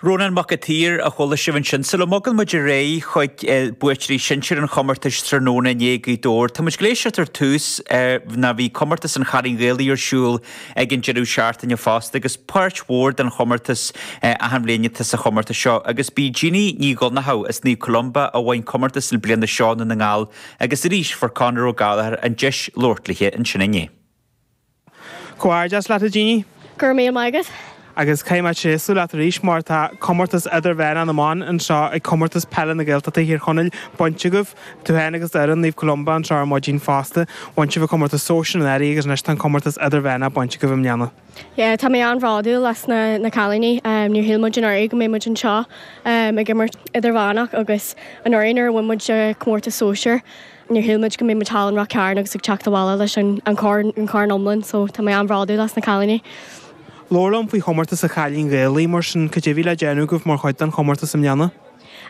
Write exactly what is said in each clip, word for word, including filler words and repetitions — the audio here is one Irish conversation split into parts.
Rónán Mac an tSaoir a chuala sibh ansin sula mbogann muid ar aghaidh chuig buaiteoirí sinsir an chomórtais tráthnóna inné Gaoth Dobhair. Tá muid ag éisteacht ar tús ná bhí comórtas an Chailín Ghaelaigh ar siúl ag an deireadh seachtaine fosta agus páirt mhór den chomórtas achan bhliain atá sa chomórtas seo agus b'í Jeannie Ní Dhonnchadha as Naomh Columba a bhain comórtas na bliana seo i nDún na nGall agus arís fuair Conor Ó Gallchóir an deis labhairt léi ansin inné. Comhghairdeas leat a Jeannie? Gur mé agat. Agus caithfidh mé tréaslú leat arís mar tá comórtas idirmheánach na mban anseo ag comórtas peile na Gaeltachta Thír Chonaill bainte agaibh tú féin agus d'fhoireann Naomh Columba anseo ar maidin fosta. Bhain sibh an comórtas sóisir anuraidh agus anois tá an comórtas idirmheánach bainte agaibh i mbliana. Yeah, tá mé an-bhródúil as na, na cailíní um, níor shíl muid anuraidh go mbeidh muid anseo um, ag imirt idirmheánach agus anuraidh nuair a bhain muid comórtas sóisir. Níor shíl muid go mbeidh muid thall in Ráth Cairn agus ag teacht abhaile leis an, an corn an corn iomlán, so tá mé an-bhródúil as na cailíní. Labhair liom faoi chomórtas an Chailín Ghaelaigh mar sin cad é a bhí le déanamh agaibh mar chuid den chomórtas i mbliana.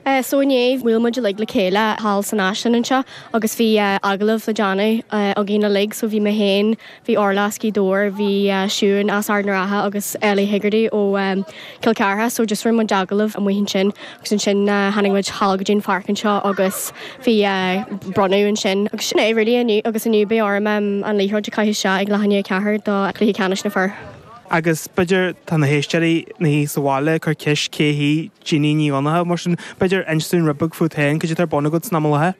Uh, so inné bhuail muid uilig le chéile thall san áislann anseo agus bhí uh, agallamh le déanamh uh, againn uilig, so bhí mé féin, bhí Orla as Gaoth Dobhair, bhí uh, Siún as Ard na Rátha agus Ellie Hegarty ó um, Cill Chartha, so just rinne muid agallamh amuigh ansin agus ansin uh, tháinig muid thall go dtí an pháirc anseo agus bhí uh, bronnadh ansin agus sin é really inniu agus inniu beidh orm um, an liathróid a chaitheamh isteach ag leath i ndiaidh a ceathair do chluiche ceannais na bhfear. Agus b'fhéidir tá na héisteoirí na sa bhaile cur ceist cé hí Jeannie Ní Dhonnchadha mar sin b'fhéidir inis dúinn rud beag fút féin cad é atá ar bun agat san am i láthair.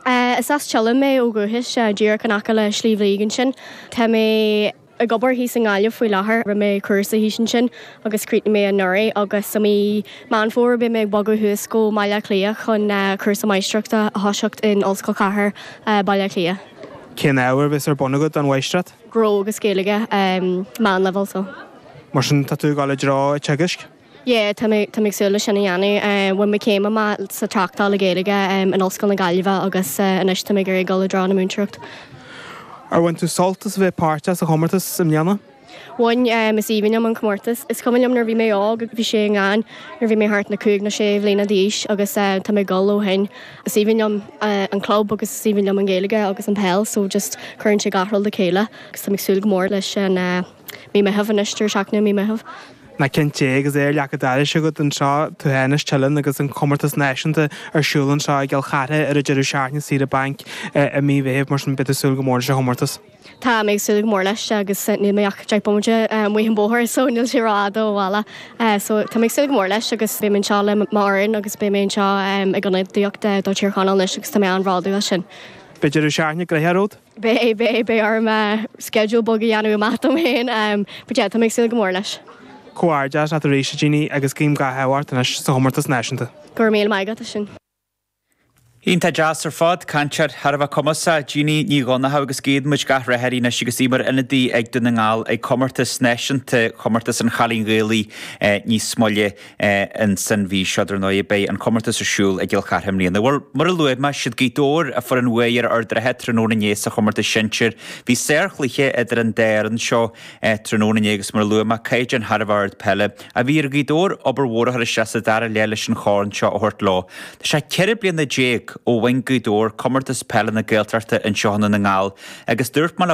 Uh, is as Teileann mé ó dhúchas uh, díreach in aice le Sliabh Liag ansin. Tá mé ag obair thíos i nGaillimh faoi láthair rinne mé cúrsa thíos ansin agus chríochnaigh mé anuraidh agus i mí Meán Fómhair beidh mé ag bogadh thuas go Baile Átha Cliath chun uh, cúrsa máistreachta a thoiseacht in Ollscoil Chathair uh, Baile Átha Cliath. Cén ábhar a bheas ar bun agat don mháistreacht? Gnó agus Gaeilge um, meánleibhéal so. Mar sin tá tú ag dul i dtreo teagaisc? Yeah, tá mé ag súil leis sin a dhéanamh bhain mé céim amach sa tráchtáil Gaeilge um, in Ollscoil na Gaillimhe agus uh, anois tá mé ag dul i dtreo na múinteoireacht. Ar bhain tú sult as a bheith páirteach sa chomórtas i mbliana? Bhain um, is aoibhinn liom an comórtas. Is cuimhin liom nuair bhí mé óg bhí sé an nuair bhí mé thart na cúig nó sé bliana d'aois agus uh, tá mé ag dul ó shin. Is aoibhinn liom uh, an club agus is aoibhinn liom an Ghaeilge agus an peil, so just cuireann sé gach rud le chéile agus tá mé ag súil go mór leis an uh, mí Mheithimh anois seachtain mí Mheithimh. Na cinnte agus é leaca d'air agat anseo tú féin as Teileann agus an comórtas náisiúnta ar siúl anseo i gCill Chartha ar an deireadh seachtaine saoire bainc i mí Mheithimh mar sin beidh tú ag súil go mór leis an chomórtas. Tá mé ag súil go mór leis agus níl mé ach deich bomaite amuigh an bóthar so níl sé rófhada ó bhaile. So tá mé ag súil go mór leis agus beidh mé anseo le m'fhoireann agus beidh mé anseo ag ionadaíocht do Thír Chonaill anois agus tá mé an-bhródúil as sin. Beidh deireadh seachtaine gnoitheach romhat? Beidh beidh beidh orm schedule beag a dhéanamh amach dom féin, but yeah, tá mé ag súil go mór leis. Comhghairdeas leat arís Jeannie agus guím gach ádh ort anois sa chomórtas náisiúnta. Gur mé maigad sin. Iontach deas ar fad cainteoir thar a bheith cumasach Jeannie Ní Dhonnchadha agus guíonn muid gach rath uirthi anois agus í mar ionadaí ag Dún na nGall ag comórtas náisiúnta comórtas an Chailín Ghaelaigh níos moille in san mhí seo dar ndóigh beidh an comórtas ar siúl i gCill Chartha i mbliana. Bhuel mar a luaigh mé siad Gaoth Dobhair a fuair an bua ar Ard an Rátha tráthnóna inné sa chomórtas sinsir. Bhí sárchluiche idir an dá fhoireann seo tráthnóna inné agus mar a luaigh mé caighdeán thar a bheith ard peile. A bhí ar Ghaoth Dobhair obair mhór a chur isteach sa dara leath leis an chorn seo a thabhairt leo. Tá sé ceithre bliana déag ó bhain Gaoth Dobhair comórtas peile na Gaeltachta anseo i nDún na nGall agus dúirt mé le